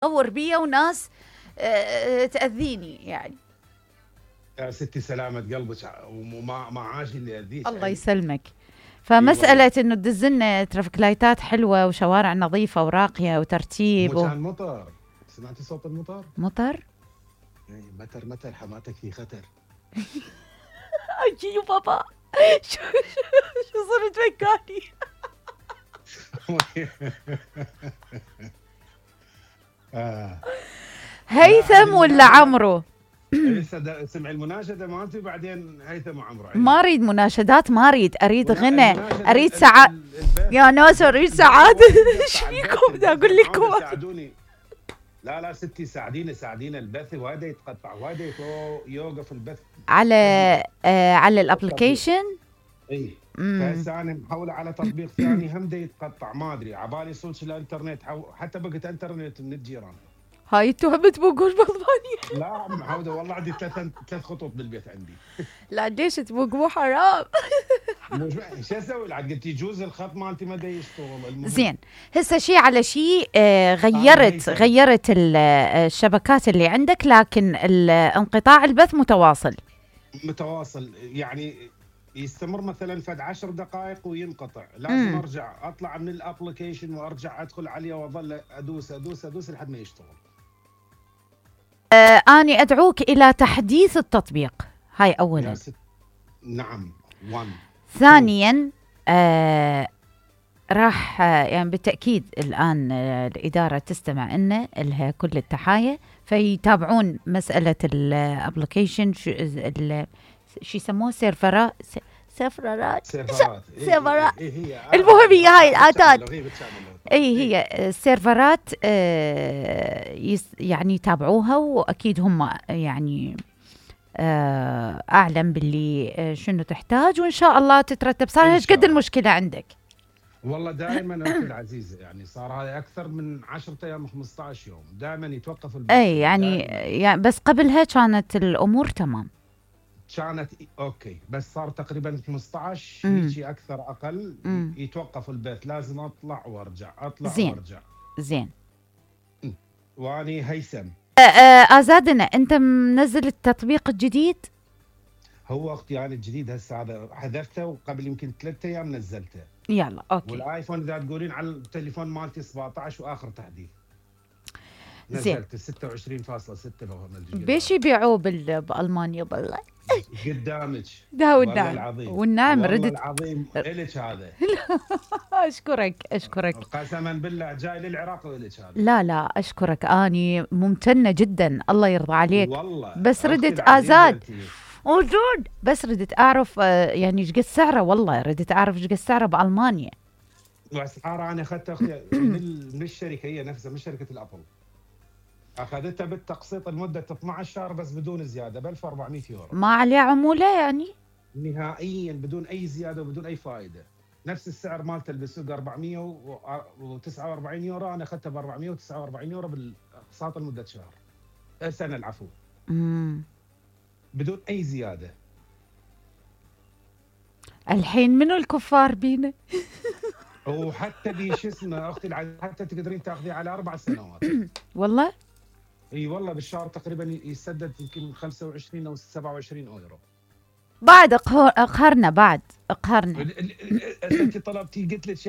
ادور بيا وناس تاذيني يعني. يا ستي سلامة قلبك وما عاش اللي يأذيك. الله يسلمك. فمسألة انه تدزلنا ترافيك لايتات حلوة وشوارع نظيفة وراقية وترتيب كان مطر. سمعتي صوت المطر؟ مطر؟ اي متر حماتك في خطر. اي بابا شو صرت مكاني. هيثم ولا عمرو؟ لسه سمع المناشده مالتي بعدين هيثم وعمرو. ما اريد مناشدات، ما اريد غنى، اريد سعاده يا ناس، اريد سعاده. ايش فيكم؟ بدي اقول لكم ساعدوني. لا ستي ساعدينا البث وهذا يتقطع وهذا يوقف البث على الابلكيشن. اي فهسه انا محوله على تطبيق ثاني هم يتقطع، ما ادري عبالي صوت الانترنت حتى بقت انترنت من الجيران. هاي انتوا هم تبوقون بالضبانية؟ لا محوده والله عندي ثلاث خطوط بالبيت عندي. لا ليش تبوقوا حرام؟ شو اسوي؟ عاد قلت يجوز الخط مالتي ما يشتغل. زين هسه شيء على شيء، غيرت الشبكات اللي عندك، لكن انقطاع البث متواصل يعني يستمر مثلا فد 10 دقائق وينقطع، لازم ارجع اطلع من الابلكيشن وارجع ادخل عليه واظل ادوس لحد ما يشتغل. اني ادعوك الى تحديث التطبيق، هاي اولا. نعم. 1 ثانيا راح يعني بالتاكيد الان الاداره تستمع لنا، لها كل التحايا، فيتابعون مساله الابلكيشن، شو يسموه سيرفرات. المهم هي هاي الاتات، هي السيرفرات يعني يتابعوها، واكيد هم يعني اعلم باللي شنو تحتاج، وان شاء الله تترتب. صار ايش قد المشكله عندك؟ والله دائما اختي العزيزه يعني صار هذا اكثر من 10 ايام 15 يوم دائما يتوقف البث. يعني بس قبلها كانت الامور تمام، كانت اوكي، بس صار تقريبا 15 هيك اكثر اقل يتوقف البث، لازم اطلع وارجع وارجع. زين واني هيثم. ازادنا انت منزل التطبيق الجديد؟ هو اختي يعني الجديد هسه هذا حذفته، وقبل يمكن 3 ايام نزلته. يلا اوكي. والايفون اذا تقولين على التليفون مالتي 17 واخر تحديث نزلت 26.6 بيش يبيعوه بالمانيا بالله. قدامك ده والنعم ردت العظيم الك هذا. اشكرك قسما بالله جاي للعراق والك هذا. لا اشكرك، اني ممتنه جدا، الله يرضى عليك والله. بس ردت ازاد موجود، بس ردت اعرف يعني ايش قد سعره، والله ردت اعرف ايش قد سعره بالمانيا. واسعاره انا اخذتها اختي من الشركه هي نفسها، من شركه الابل. اخذتها بالتقسيط لمده 12 شهر بس بدون زياده ب 1400 يورو. ما عليه عموله يعني؟ نهائيا بدون اي زياده وبدون اي فائده. نفس السعر مالته بالسوق 449 يورو، انا اخذتها ب 449 يورو بالاقساط لمده شهر. سنه العفو. بدون اي زياده. الحين منو الكفار بينا؟ وحتى شو اسمه اختي حتى تقدرين تاخذيه على 4 سنوات. والله؟ اي والله بالشهر تقريبا يسدد يمكن 25 او 27 يورو. بعد اقهرنا. انت طلبتي قلت لك